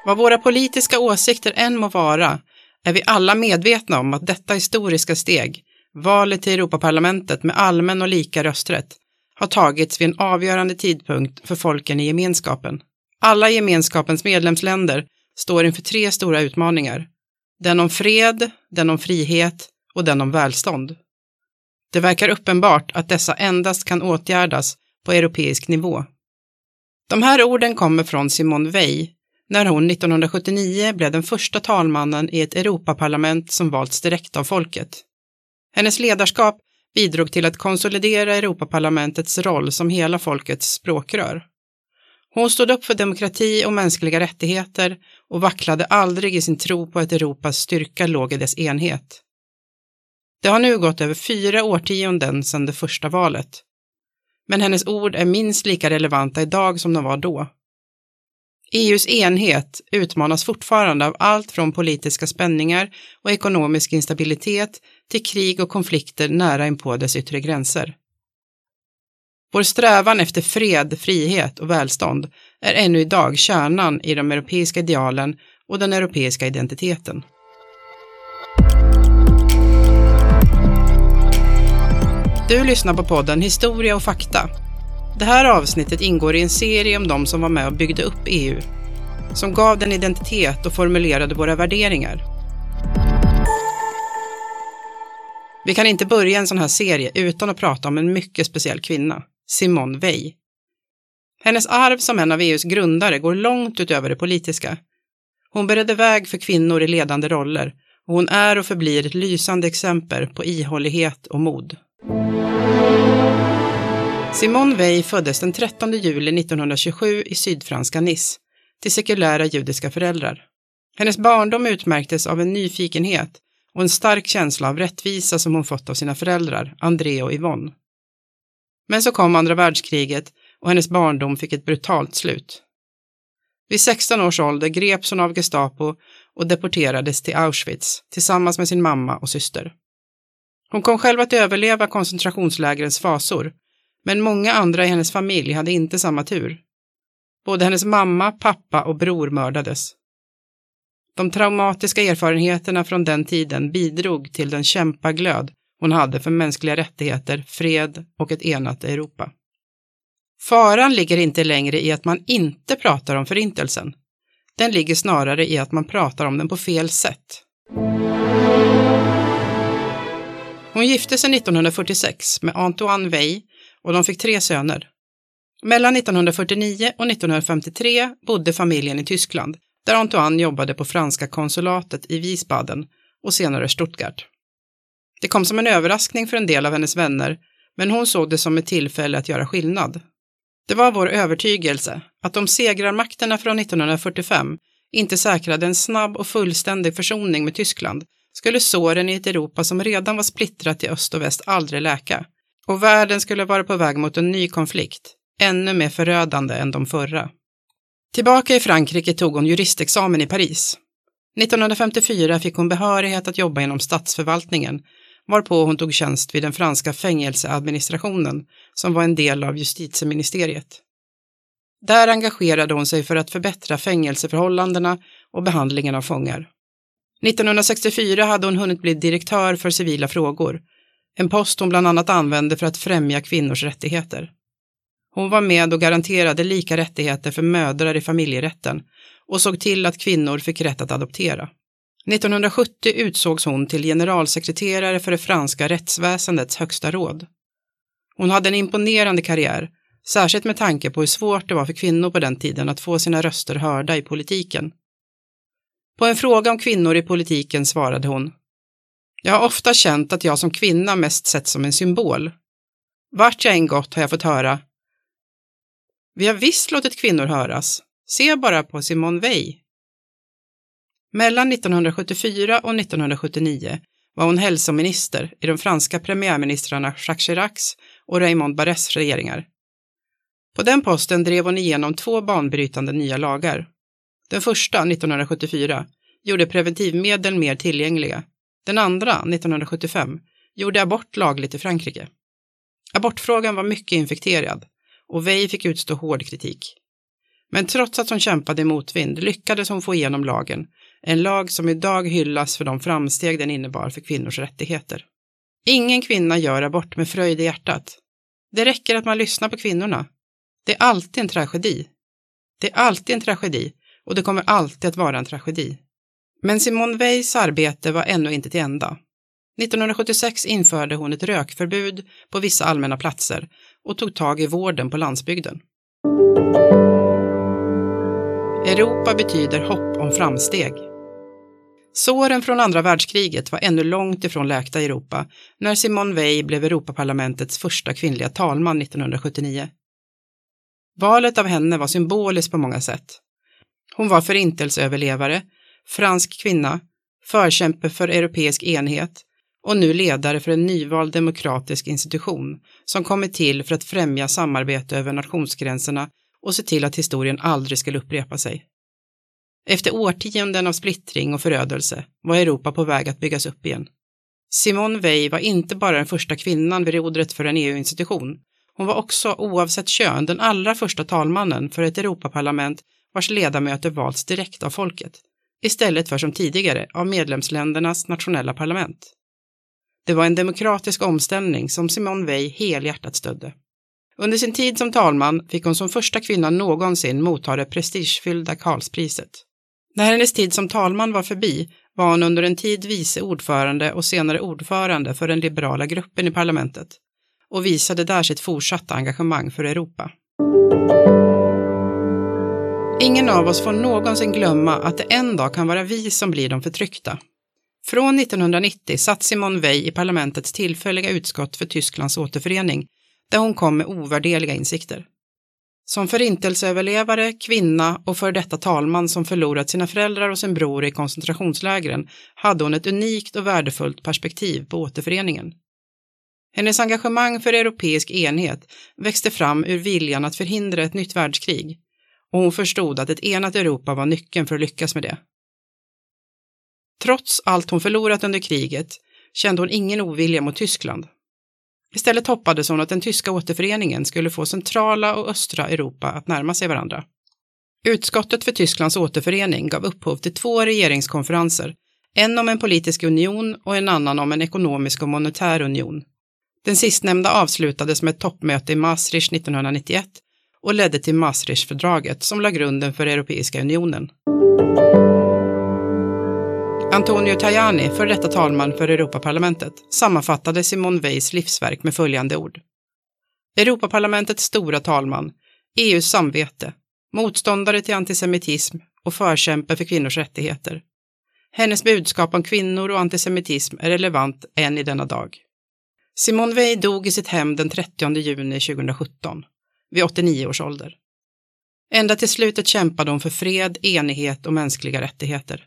Vad våra politiska åsikter än må vara är vi alla medvetna om att detta historiska steg, valet till Europaparlamentet med allmän och lika rösträtt, har tagits vid en avgörande tidpunkt för folken i gemenskapen. Alla gemenskapens medlemsländer står inför tre stora utmaningar. Den om fred, den om frihet och den om välstånd. Det verkar uppenbart att dessa endast kan åtgärdas på europeisk nivå. De här orden kommer från Simone Veil när hon 1979 blev den första talmannen i ett Europaparlament som valts direkt av folket. Hennes ledarskap bidrog till att konsolidera Europaparlamentets roll som hela folkets språkrör. Hon stod upp för demokrati och mänskliga rättigheter och vacklade aldrig i sin tro på att Europas styrka låg i dess enhet. Det har nu gått över 4 årtionden sedan det första valet. Men hennes ord är minst lika relevanta idag som de var då. EUs enhet utmanas fortfarande av allt från politiska spänningar och ekonomisk instabilitet till krig och konflikter nära inpå dess yttre gränser. Vår strävan efter fred, frihet och välstånd är ännu idag kärnan i de europeiska idealen och den europeiska identiteten. Du lyssnar på podden Historia och fakta. Det här avsnittet ingår i en serie om de som var med och byggde upp EU, som gav den identitet och formulerade våra värderingar. Vi kan inte börja en sån här serie utan att prata om en mycket speciell kvinna, Simone Veil. Hennes arv som en av EUs grundare går långt utöver det politiska. Hon beredde väg för kvinnor i ledande roller och hon är och förblir ett lysande exempel på ihållighet och mod. Simone Veil föddes den 13 juli 1927 i sydfranska Nice till sekulära judiska föräldrar. Hennes barndom utmärktes av en nyfikenhet och en stark känsla av rättvisa som hon fått av sina föräldrar, André och Yvonne. Men så kom andra världskriget och hennes barndom fick ett brutalt slut. Vid 16 års ålder greps hon av Gestapo och deporterades till Auschwitz tillsammans med sin mamma och syster. Hon kom själv att överleva koncentrationslägrens fasor, men många andra i hennes familj hade inte samma tur. Både hennes mamma, pappa och bror mördades. De traumatiska erfarenheterna från den tiden bidrog till den kämpaglöd hon hade för mänskliga rättigheter, fred och ett enat Europa. Faran ligger inte längre i att man inte pratar om förintelsen. Den ligger snarare i att man pratar om den på fel sätt. Hon gifte sig 1946 med Antoine Veil och de fick 3 söner. Mellan 1949 och 1953 bodde familjen i Tyskland, där Antoine jobbade på franska konsulatet i Wiesbaden och senare Stuttgart. Det kom som en överraskning för en del av hennes vänner, men hon såg det som ett tillfälle att göra skillnad. Det var vår övertygelse att om segrarmakterna från 1945 inte säkrade en snabb och fullständig försoning med Tyskland skulle såren i ett Europa som redan var splittrat i öst och väst aldrig läka, och världen skulle vara på väg mot en ny konflikt, ännu mer förödande än de förra. Tillbaka i Frankrike tog hon juristexamen i Paris. 1954 fick hon behörighet att jobba inom statsförvaltningen, varpå hon tog tjänst vid den franska fängelseadministrationen som var en del av justitieministeriet. Där engagerade hon sig för att förbättra fängelseförhållandena och behandlingen av fångar. 1964 hade hon hunnit bli direktör för civila frågor, en post hon bland annat använde för att främja kvinnors rättigheter. Hon var med och garanterade lika rättigheter för mödrar i familjerätten och såg till att kvinnor fick rätt att adoptera. 1970 utsågs hon till generalsekreterare för det franska rättsväsendets högsta råd. Hon hade en imponerande karriär, särskilt med tanke på hur svårt det var för kvinnor på den tiden att få sina röster hörda i politiken. På en fråga om kvinnor i politiken svarade hon: Jag har ofta känt att jag som kvinna mest sett som en symbol. Vart jag än gått har jag fått höra: Vi har visst låtit kvinnor höras. Se bara på Simone Veil. Mellan 1974 och 1979 var hon hälsominister i de franska premiärministrarna Jacques Chiracs och Raymond Barres regeringar. På den posten drev hon igenom 2 banbrytande nya lagar. Den första, 1974, gjorde preventivmedel mer tillgängliga. Den andra, 1975, gjorde abort lagligt i Frankrike. Abortfrågan var mycket infekterad och Veil fick utstå hård kritik. Men trots att hon kämpade i motvind lyckades hon få igenom lagen, en lag som idag hyllas för de framsteg den innebar för kvinnors rättigheter. Ingen kvinna gör abort med fröjd i hjärtat. Det räcker att man lyssnar på kvinnorna. Det är alltid en tragedi. Det är alltid en tragedi och det kommer alltid att vara en tragedi. Men Simone Veils arbete var ännu inte till ända. 1976 införde hon ett rökförbud på vissa allmänna platser och tog tag i vården på landsbygden. Europa betyder hopp om framsteg. Såren från andra världskriget var ännu långt ifrån läkta i Europa när Simone Veil blev Europaparlamentets första kvinnliga talman 1979. Valet av henne var symboliskt på många sätt. Hon var förintelseöverlevare, fransk kvinna, förkämpe för europeisk enhet och nu ledare för en nyvald demokratisk institution som kommit till för att främja samarbete över nationsgränserna och se till att historien aldrig skulle upprepa sig. Efter årtionden av splittring och förödelse var Europa på väg att byggas upp igen. Simone Veil var inte bara den första kvinnan vid rodret för en EU-institution. Hon var också, oavsett kön, den allra första talmannen för ett Europaparlament vars ledamöter valts direkt av folket, istället för som tidigare av medlemsländernas nationella parlament. Det var en demokratisk omställning som Simone Veil helhjärtat stödde. Under sin tid som talman fick hon som första kvinna någonsin motta det prestigefyllda Karlspriset. När hennes tid som talman var förbi var hon under en tid vice ordförande och senare ordförande för den liberala gruppen i parlamentet och visade där sitt fortsatta engagemang för Europa. Ingen av oss får någonsin glömma att det en dag kan vara vi som blir de förtryckta. Från 1990 satt Simone Veil i parlamentets tillfälliga utskott för Tysklands återförening, där hon kom med ovärderliga insikter. Som förintelseöverlevare, kvinna och för detta talman som förlorat sina föräldrar och sin bror i koncentrationslägren hade hon ett unikt och värdefullt perspektiv på återföreningen. Hennes engagemang för europeisk enhet växte fram ur viljan att förhindra ett nytt världskrig, och hon förstod att ett enat Europa var nyckeln för att lyckas med det. Trots allt hon förlorat under kriget kände hon ingen ovilja mot Tyskland. Istället hoppades hon att den tyska återföreningen skulle få centrala och östra Europa att närma sig varandra. Utskottet för Tysklands återförening gav upphov till 2 regeringskonferenser, en om en politisk union och en annan om en ekonomisk och monetär union. Den sistnämnda avslutades med ett toppmöte i Maastricht 1991 och ledde till Maastrichtfördraget som la grunden för Europeiska unionen. Antonio Tajani, för detta talman för Europaparlamentet, sammanfattade Simone Veils livsverk med följande ord. Europaparlamentets stora talman, EU:s samvete, motståndare till antisemitism och förkämpe för kvinnors rättigheter. Hennes budskap om kvinnor och antisemitism är relevant än i denna dag. Simone Veil dog i sitt hem den 30 juni 2017, vid 89 års ålder. Ända till slutet kämpade hon för fred, enighet och mänskliga rättigheter.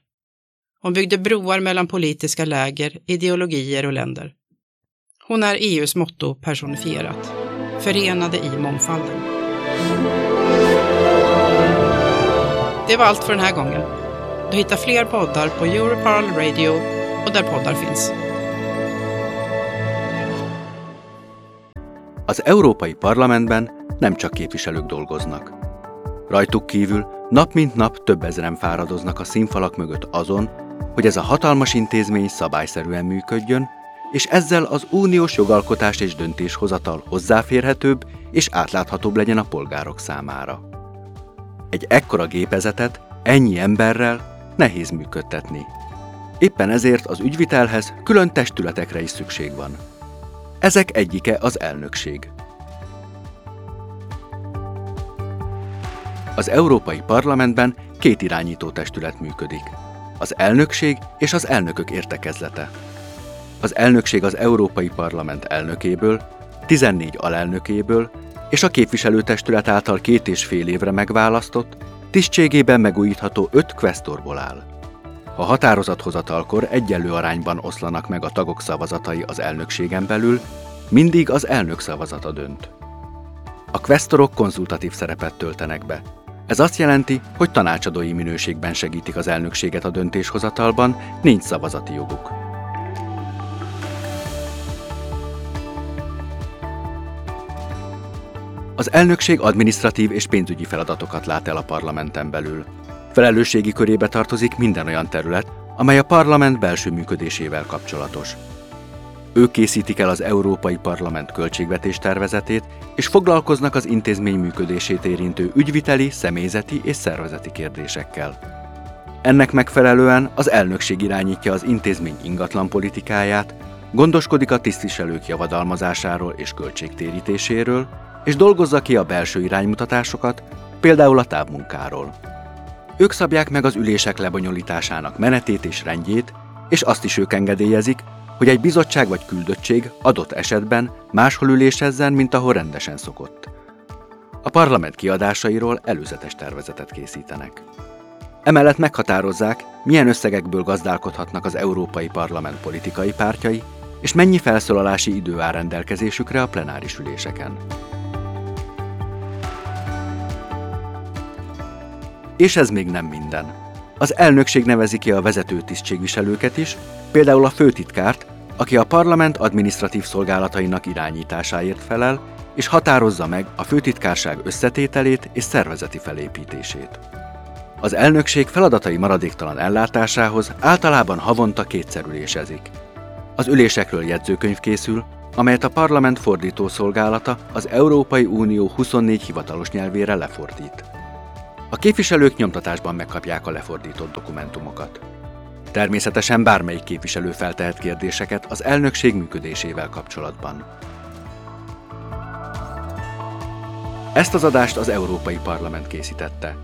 Hon byggde broar mellan politiska läger, ideologier och länder. Hon är EU:s motto personifierat. Förenade i mångfalden. Det var allt för den här gången. Du hittar fler poddar på Europarl Radio och där poddar finns. Az Európai Parlamentben nem csak képviselők dolgoznak. Rajtuk kívül nap mint nap több ezeren fáradoznak a színfalak mögött azon, hogy ez a hatalmas intézmény szabályszerűen működjön, és ezzel az uniós jogalkotás és döntéshozatal hozzáférhetőbb és átláthatóbb legyen a polgárok számára. Egy ekkora gépezetet ennyi emberrel nehéz működtetni. Éppen ezért az ügyvitelhez külön testületekre is szükség van. Ezek egyike az elnökség. Az Európai Parlamentben két irányító testület működik. Az elnökség és az elnökök értekezlete. Az elnökség az Európai Parlament elnökéből, 14 alelnökéből és a képviselőtestület által 2,5 évre megválasztott, tisztségében megújítható 5 kvesztorból áll. A határozathozatalkor egyenlő arányban oszlanak meg a tagok szavazatai az elnökségen belül, mindig az elnök szavazata dönt. A kvesztorok konzultatív szerepet töltenek be. Ez azt jelenti, hogy tanácsadói minőségben segítik az elnökséget a döntéshozatalban, nincs szavazati joguk. Az elnökség adminisztratív és pénzügyi feladatokat lát el a parlamenten belül. Felelősségi körébe tartozik minden olyan terület, amely a parlament belső működésével kapcsolatos. Ők készítik el az Európai Parlament költségvetés tervezetét, és foglalkoznak az intézmény működését érintő ügyviteli, személyzeti és szervezeti kérdésekkel. Ennek megfelelően az elnökség irányítja az intézmény ingatlanpolitikáját, gondoskodik a tisztviselők javadalmazásáról és költségtérítéséről, és dolgozza ki a belső iránymutatásokat, például a távmunkáról. Ők szabják meg az ülések lebonyolításának menetét és rendjét, és azt is ők engedélyezik, hogy egy bizottság vagy küldöttség adott esetben máshol ülésezzen, mint ahol rendesen szokott. A parlament kiadásairól előzetes tervezetet készítenek. Emellett meghatározzák, milyen összegekből gazdálkodhatnak az Európai Parlament politikai pártjai, és mennyi felszólalási idő áll rendelkezésükre a plenáris üléseken. És ez még nem minden. Az elnökség nevezi ki a vezető tisztségviselőket is, például a főtitkárt, aki a parlament adminisztratív szolgálatainak irányításáért felel, és határozza meg a főtitkárság összetételét és szervezeti felépítését. Az elnökség feladatai maradéktalan ellátásához általában havonta kétszer ülésezik. Az ülésekről jegyzőkönyv készül, amelyet a parlament fordítószolgálata az Európai Unió 24 hivatalos nyelvére lefordít. A képviselők nyomtatásban megkapják a lefordított dokumentumokat. Természetesen bármelyik képviselő feltehet kérdéseket az elnökség működésével kapcsolatban. Ezt az adást az Európai Parlament készítette.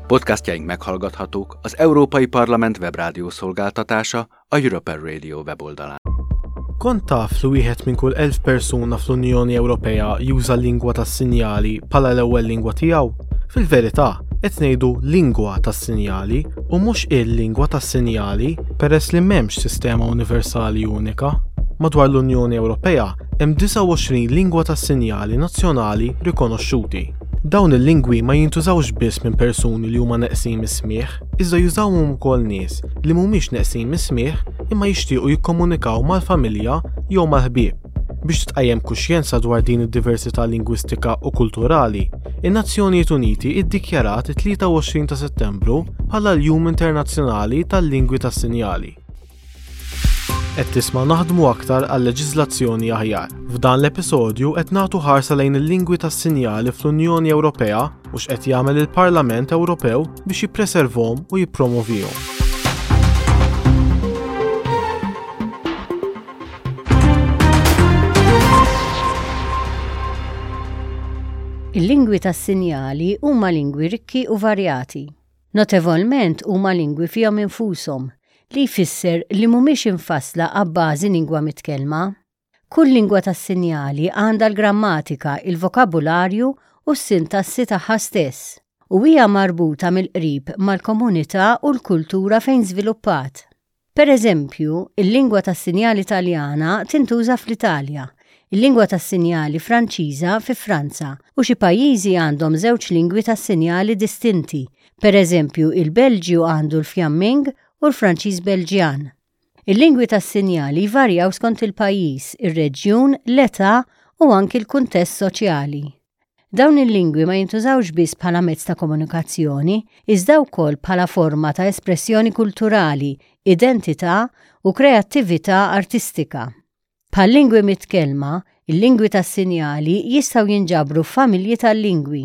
Podcastjaink meghallgathatók az Európai Parlament webrádió szolgáltatása a European Radio weboldalán. Kont taf li wieħed minn kull 1000 persuna fl-Unjoni Ewropea juża l-lingwa tas-sinjali bħala l-ewwel lingwa tiegħu? Fil-verità, qed ngħidu lingwa tas-sinjali u mhux il-lingwa tas-sinjali peress li m'hemmx sistema universali unika. Madwar l-Unjoni Ewropea hemm 29 lingwa tas-sinjali nazzjonali rikonoxxuti. Dawn il-lingwi ma jintużawx biss minn persuni li huma neqsin mis-smigħ, iżda jużawhom ukoll nies li mhumiex neqsin mis-smigħ imma jixtiequ jikkomunikaw mal-familja jew mal-ħbieb. Biex titqajjem kuxjenza dwar din id-diversità lingwistika u kulturali, in-Nazzjonijiet Uniti iddikjarat it-23 ta' Settembru bħala l-Jum Internazzjonali tal-Lingwi tas-Sinjali. Qed tisma' Naħdmu Aktar għal Leġiżlazzjoni Aħjar. F'dan l-episodju qed nagħtu ħarsa lejn il-lingwi tas-sinjali fl-Unjoni Ewropea u x'qed jagħmel il-Parlament Ewropew biex jippreservhom u jippromovihom. Il-lingwi tas-sinjali huma lingwi rikki u varjati. Notevolment huma lingwi fihom infushom, li jfisser li mhumiex imfassla abbażi lingwa mitkellma. Kull lingwa tas-sinjali għandha l-grammatika, il-vokabularju u s-sintassi tagħha stess, u hija marbuta mill-qrib mal-komunità u l-kultura fejn żviluppat. Pereżempju, il-lingwa tas-sinjali Taljana tintuża fl-Italja, il-lingwa tas-sinjali Franċiża fi Franza u xi pajjiżi għandhom żewġ lingwi tas-sinjali distinti, pereżempju il-Belġju għandu l-Fjamming u l-Franċiż Belġjan. Il-lingwi tas-sinjali jvarjaw skont il-pajjiż, ir-reġjun, l-età u anki l-kuntest soċjali. Dawn il-lingwi ma jintużawx biss bħala mezz ta' komunikazzjoni, iżda wkoll bħala forma ta' espressjoni kulturali, identità u kreattività artistika. Bħal-lingwi mitkellma, il-lingwi tas-sinjali jistgħu jinġabru f'familji tal-lingwi.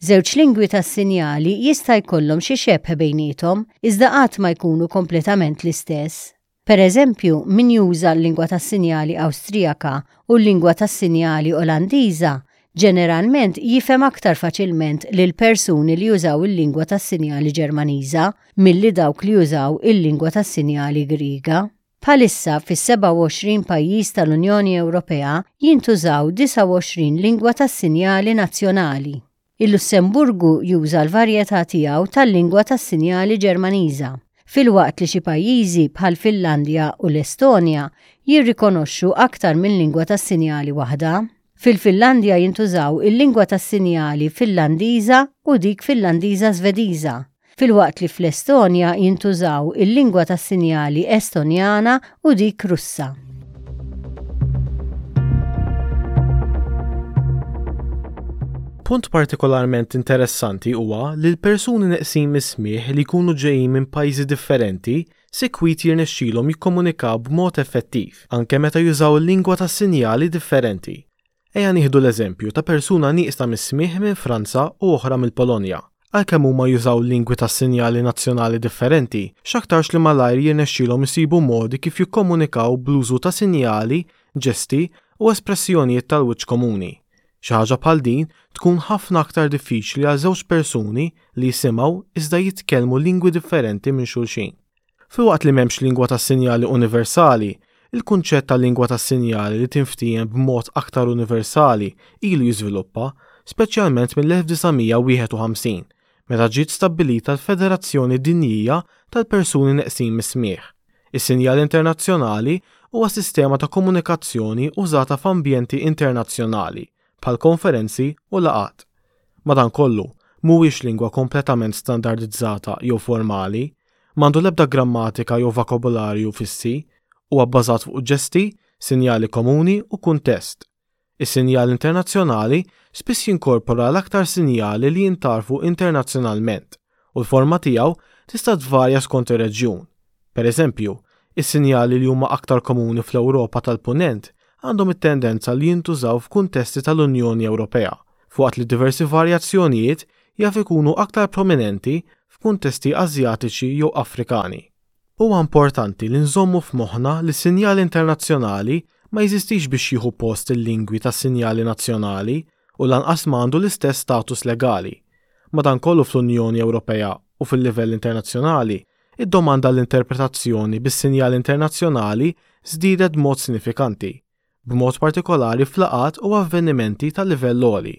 Żewġ lingwi tas-sinjali jista' jkollhom xi xebh bejniethom, iżda qatt ma jkunu kompletament l-istess. Pereżempju, min juża l-lingwa tas-sinjali Awstrijaka u l-lingwa tas-sinjali Olandiża ġeneralment jifhem aktar faċilment lil persuni li jużaw il-lingwa tas-sinjali Ġermaniża milli dawk li jużaw il-lingwa tas-sinjali Griega. Bħalissa fis-27 pajjiż tal-Unjoni Ewropea jintużaw 29 lingwa tas-sinjali nazzjonali. Il-Lussemburgu juża l-varjetà tiegħu tal-lingwa tas-sinjali Ġermaniża, filwaqt li xi pajjiżi bħall-Finlandja u l-Estonja jirrikonoxxu aktar minn lingwa tas-sinjali waħda. Fil-Finlandja jintużaw il-lingwa tas-sinjali Finlandiża u dik Finlandiża-Żvediża, filwaqt li fl-Estonja jintużaw il-lingwa tas-sinjali Estonjana u dik Russa. Punt partikolarment interessanti huwa li l-persuni neqsin mis-smigħ li jkunu ġejjin minn pajjiżi differenti sikwit jirnexxilhom jikkomunikaw b'mod effettiv anke meta jużaw lingwa tas-sinjali differenti. Ejja nieħdu l-eżempju ta' persuna nieqsa mis-smigħ minn Franza u oħra mill-Polonja. Għalkemm huma jużaw lingwi tas-sinjali nazzjonali differenti, x'aktarx li malajr jirnexxilhom isibu modi kif jikkomunikaw bl-użu ta' sinjali, ġesti, u espressjonijiet tal-wiċċ komuni. Xi ħaġa bħal din tkun ħafna aktar diffiċli għal żewġ persuni li jisimgħu iżda jitkellmu lingwi differenti minn xulxin. Filwaqt li m'hemmx lingwa tas-sinjali universali, il-kunċett ta' lingwa tas-sinjali li tinftiehem b'mod aktar universali ilu jiżviluppa, speċjalment mill-1951, meta ġiet stabbilita l-Federazzjoni Dinjija tal-Persuni Neqsin mis-Smigħ. Is-sinjal internazzjonali huwa sistema ta' komunikazzjoni użata f'ambjenti internazzjonali, bħal konferenzi u laqgħat. Madankollu, mhuwiex lingwa kompletament standardizzata jew formali, m'għandu l-ebda grammatika jew vokabularju fissi, huwa bbażat fuq ġesti, sinjali komuni u kuntest. Is-sinjal internazzjonali spiss jinkorpora l-aktar sinjali li jintgħarfu internazzjonalment u l-forma tiegħu tista' tvarja skont ir-reġjun. Pereżempju, is-sinjali li huma aktar komuni fl-Ewropa tal-Punent għandhom it-tendenza li jintużaw f'kuntesti tal-Unjoni Ewropea, f'waqt li diversi varjazzjonijiet jaf ikunu aktar prominenti f'kuntesti Asjatiċi jew Afrikani. Huwa importanti li nżommu f'moħħna li s-sinjal internazzjonali ma jeżistix biex jieħu post il-lingwi tas-sinjali nazzjonali u lanqas ma għandu l-istess status legali. Madankollu fl-Unjoni Ewropea u fil-livell internazzjonali, id-domanda għall-interpretazzjoni bis-sinjal internazzjonali żdiedet b'mod sinifikanti. b'mod partikolari f'laqgħat u avvenimenti ta' livell għoli.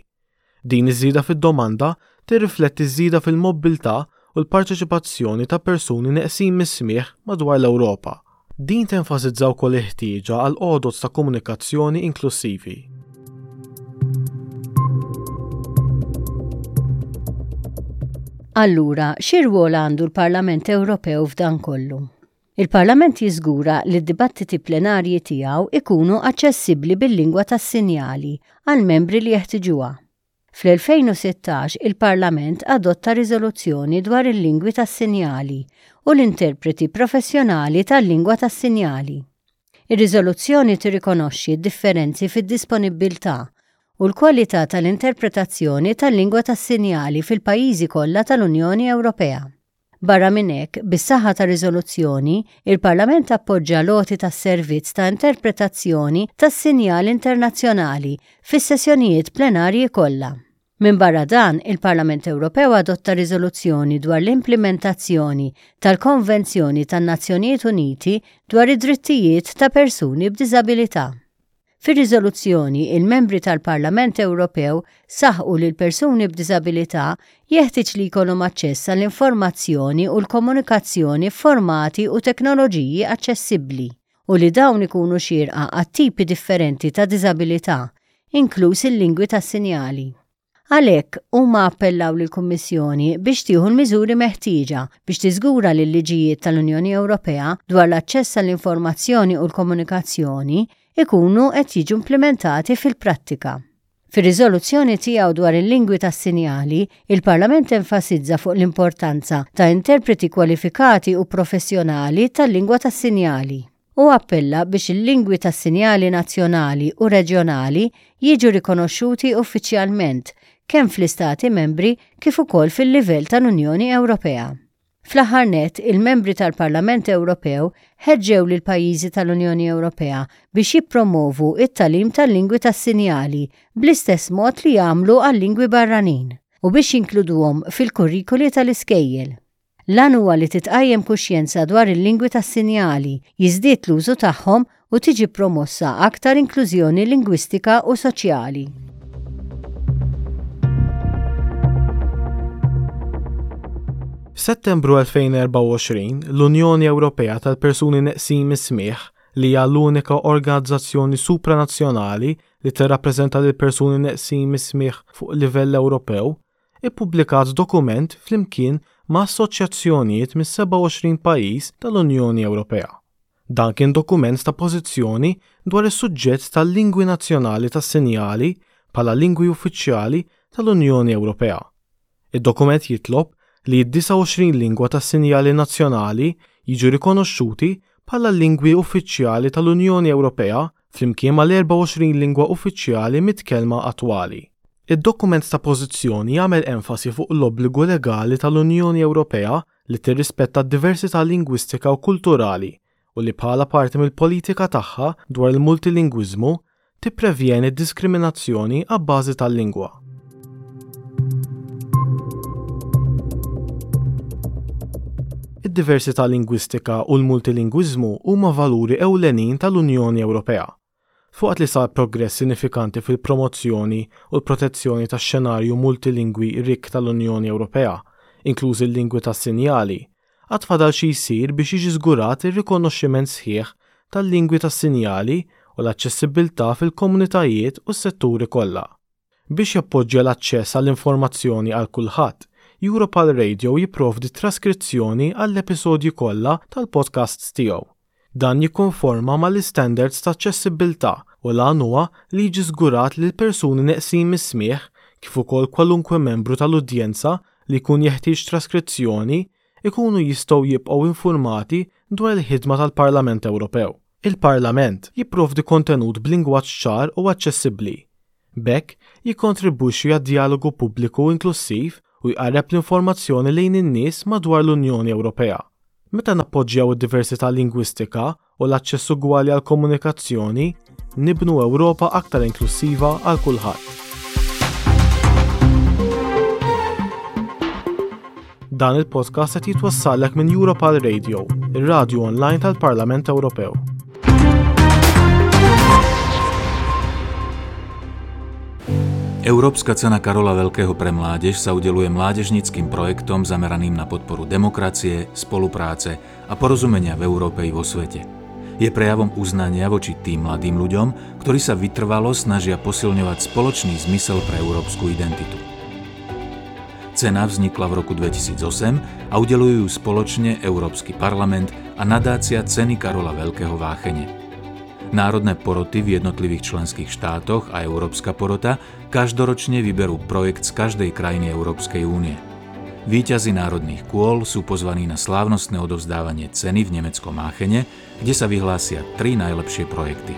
Din iż-żieda fid-domanda tirrifletti ż-żieda fil-mobbiltà u l-parteċipazzjoni ta' persuni neqsin mis-smigħ madwar l-Ewropa. Din tenfasizza wkoll il-ħtieġa għal għodod ta' komunikazzjoni inklussivi. Allura, xi rwol għandu l-Parlament Ewropew f'dan kollu? Il-Parlament jiżgura li d-dibattiti plenarji tiegħu jkunu aċċessibbli bil-lingwa tas-sinjali għall-membri li jeħtiġuha. Fl-2016 il-Parlament adotta riżoluzzjoni dwar il-lingwi tas-sinjali u l-interpreti professjonali tal-lingwa tas-sinjali. Ir-riżoluzzjoni tirrikonoxxi d-differenzi fid-disponibbiltà u l-kwalità tal-interpretazzjoni tal-lingwa tas-sinjali fil-pajjiżi kollha tal-Unjoni Ewropea. Barra minn hekk, bis-saħħa tar-riżoluzzjoni, il-Parlament appoġġa l-għoti tas-servizz ta' interpretazzjoni tas-sinjal internazzjonali fis-sessjonijiet plenarji kollha. Minbarra dan, il-Parlament Ewropew adotta riżoluzzjoni dwar l-implimentazzjoni tal-Konvenzjoni tan-Nazzjonijiet Uniti dwar id-Drittijiet ta' Persuni b'Diżabilità. Fir-riżoluzzjoni, il-Membri tal-Parlament Ewropew saħqu li l-persuni b'diżabilità jeħtieġ li jkollhom aċċess għall-informazzjoni u l-komunikazzjoni f'formati u teknoloġiji aċċessibbli u li dawn ikunu xierqa għat-tipi differenti ta' diżabilità, inkluż il-lingwi tas-sinjali. Għalhekk, huma appellaw lill-Kummissjoni biex tieħu l-miżuri meħtieġa biex tiżgura li l-liġijiet tal-Unjoni Ewropea dwar l-aċċess għall-informazzjoni u l-komunikazzjoni jkunu qed jiġu implimentati fil-prattika. Fir-riżoluzzjoni tiegħu dwar il-lingwi tas-sinjali, il-Parlament enfasizza fuq l-importanza ta' interpreti kwalifikati u professjonali tal-lingwa tas-sinjali. Hu appella biex il-lingwi tas-sinjali nazzjonali u reġjonali jiġu rikonoxxuti uffiċjalment kemm fl-Istati Membri kif ukoll fil-livell tal-Unjoni Ewropea. Fl-aħħar nett, il-Membri tal-Parlament Ewropew ħeġġew lill-pajjiżi tal-Unjoni Ewropea biex jippromovu t-tagħlim tal-lingwi tas-sinjali bl-istess mod li jagħmlu għal-lingwi barranin u biex jinkluduhom fil-kurrikuli tal-iskejjel. L-għan huwa li titqajjem kuxjenza dwar il-lingwi tas-sinjali, jiżdied l-użu tagħhom u tiġi promossa aktar inklużjoni lingwistika u soċjali. F'Settembru 2024, l-Unjoni Ewropea tal-Persuni Neqsin mis-Smigħ, li hija l-unika organizzazzjoni supranazzjonali li tirrappreżenta lill-persuni neqsin mis-smigħ fuq livell Ewropew, ippubblikat dokument flimkien ma' assoċjazzjonijiet mis-27 pajjiż tal-Unjoni Ewropea. Dan kien dokument ta' pożizzjoni dwar is-suġġett tal-lingwi nazzjonali tas-sinjali bħala lingwi uffiċjali tal-Unjoni Ewropea. Id-dokument jitlob li d-29 lingwa tas-sinjali nazzjonali jiġu rikonoxxuti bħala l-lingwi uffiċjali tal-Unjoni Ewropea flimkien mal-24 lingwa uffiċjali mitkellma attwali. Id-dokument ta' pożizzjoni jagħmel enfasi fuq l-obbligu legali tal-Unjoni Ewropea li tirrispetta d-diversità lingwistika u kulturali u li bħala parti mill-politika tagħha dwar il-multilingwiżmu tipprevjeni d-diskriminazzjoni abbażi tal-lingwa. Id-diversità lingwistika u l-multilingwiżmu huma valuri ewlenin tal-Unjoni Ewropea. Filwaqt li sar progress sinifikanti fil-promozzjoni u l-protezzjoni tax-xenarju multilingwi rikk tal-Unjoni Ewropea, inklużi l-lingwi tas-sinjali, għad fadal xi jsir biex jiġi żgurat ir-rikonoxximent sħiħ tal-lingwi tas-sinjali u l-aċċessibbiltà fil-komunitajiet u s-setturi kollha. Biex jappoġġja l-aċċess għall-informazzjoni għal kulħadd, Europal Radio jipprovdi traskrizzjoni għall-episodji kollha tal-podcasts tiegħu. Dan jikkonforma mal-istandards ta' aċċessibbiltà u l-għan huwa li jiġi żgurat li l-persuni neqsin mis-smigħ, kif ukoll kwalunkwe membru tal-udjenza li jkun jeħtieġ traskrizzjoni, ikunu jistgħu jibqgħu infurmati dwar il-ħidma tal-Parlament Ewropew. Il-Parlament jipprovdi kontenut b'lingwaġġ ċar u aċċessibbli. B'hekk, jikkontribwixxi għad-djalogu pubbliku inklussiv u jqarreb l-informazzjoni lejn in-nies madwar l-Unjoni Ewropea. Meta nappoġġjaw id-diversità lingwistika u l-aċċess ugwali għall-komunikazzjoni, nibnu Ewropa aktar inklussiva għal kulħadd. Dan il-podcast qed jitwassallek minn Europal Radio, ir-radju online tal-Parlament Ewropew. Európska cena Karola Veľkého pre mládež sa udeľuje mládežníckym projektom zameraným na podporu demokracie, spolupráce a porozumenia v Európe i vo svete. Je prejavom uznania voči tým mladým ľuďom, ktorí sa vytrvalo snažia posilňovať spoločný zmysel pre európsku identitu. Cena vznikla v roku 2008 a udeľujú ju spoločne Európsky parlament a nadácia Ceny Karola Veľkého v Aachene. Národné poroty v jednotlivých členských štátoch a Európska porota každoročne vyberú projekt z každej krajiny Európskej únie. Víťazi národných kôl sú pozvaní na slávnostné odovzdávanie ceny v nemeckom Aachene, kde sa vyhlásia 3 najlepšie projekty.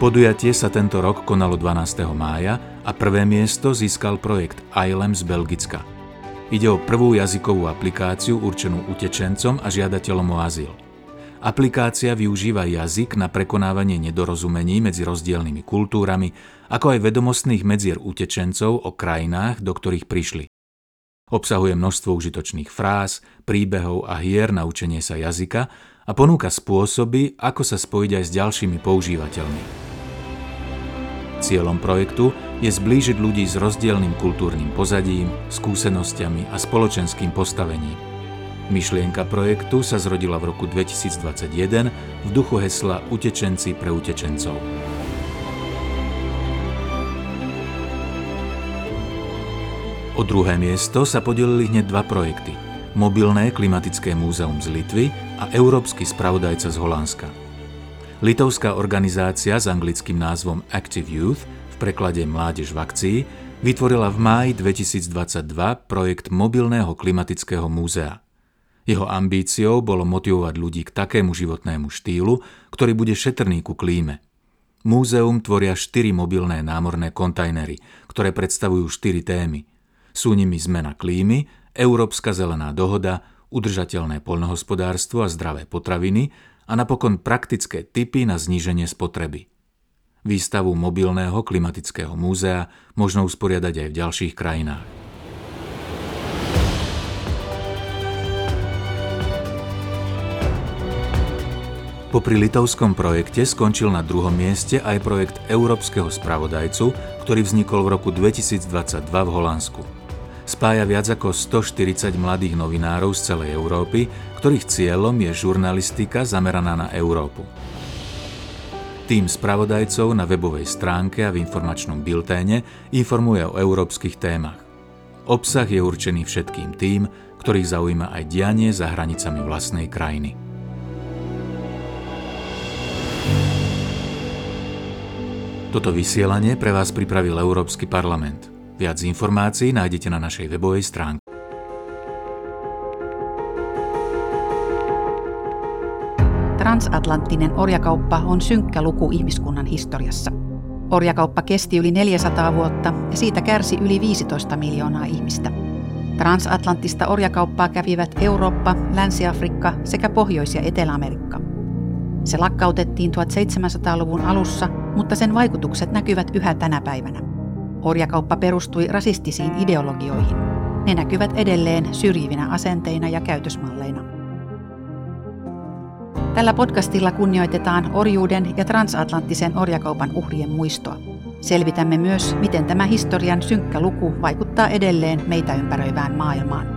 Podujatie sa tento rok konalo 12. mája a prvé miesto získal projekt ILEM z Belgicka. Ide o prvú jazykovú aplikáciu určenú utečencom a žiadateľom o azyl. Aplikácia využíva jazyk na prekonávanie nedorozumení medzi rozdielnymi kultúrami, ako aj vedomostných medzier utečencov o krajinách, do ktorých prišli. Obsahuje množstvo užitočných fráz, príbehov a hier na učenie sa jazyka a ponúka spôsoby, ako sa spojiť aj s ďalšími používateľmi. Cieľom projektu je zblížiť ľudí s rozdielnym kultúrnym pozadím, skúsenosťami a spoločenským postavením. Myšlienka projektu sa zrodila v roku 2021 v duchu hesla Utečenci pre utečencov. O druhé miesto sa podelili hneď dva projekty. Mobilné klimatické múzeum z Litvy a Európsky spravodajca z Holandska. Litovská organizácia s anglickým názvom Active Youth, v preklade Mládež v akcii, vytvorila v máji 2022 projekt Mobilného klimatického múzea. Jeho ambíciou bolo motivovať ľudí k takému životnému štýlu, ktorý bude šetrný ku klíme. Múzeum tvoria 4 mobilné námorné kontajnery, ktoré predstavujú 4 témy. Sú nimi zmena klímy, Európska zelená dohoda, udržateľné poľnohospodárstvo a zdravé potraviny a napokon praktické tipy na zníženie spotreby. Výstavu mobilného klimatického múzea možno usporiadať aj v ďalších krajinách. Popri litovskom projekte skončil na druhom mieste aj projekt Európskeho spravodajcu, ktorý vznikol v roku 2022 v Holandsku. Spája viac ako 140 mladých novinárov z celej Európy, ktorých cieľom je žurnalistika zameraná na Európu. Tím spravodajcov na webovej stránke a v informačnom bilténe informuje o európskych témach. Obsah je určený všetkým tým, ktorých zaujíma aj dianie za hranicami vlastnej krajiny. Toto vysielanie pre vás pripravil Európsky parlament. Viac informácií nájdete na našej webovej stránke. Transatlanttinen orjakauppa on synkkä luku ihmiskunnan historiassa. Orjakauppa kesti yli 400 vuotta ja siitä kärsi yli 15 miljoonaa ihmistä. Transatlanttista orjakauppaa kävivät Eurooppa, Länsi-Afrikka sekä Pohjois- ja Etelä-Amerikka. Se lakkautettiin 1700-luvun alussa, mutta sen vaikutukset näkyvät yhä tänä päivänä. Orjakauppa perustui rasistisiin ideologioihin. Ne näkyvät edelleen syrjivinä asenteina ja käytösmalleina. Tällä podcastilla kunnioitetaan orjuuden ja transatlanttisen orjakaupan uhrien muistoa. Selvitämme myös, miten tämä historian synkkä luku vaikuttaa edelleen meitä ympäröivään maailmaan.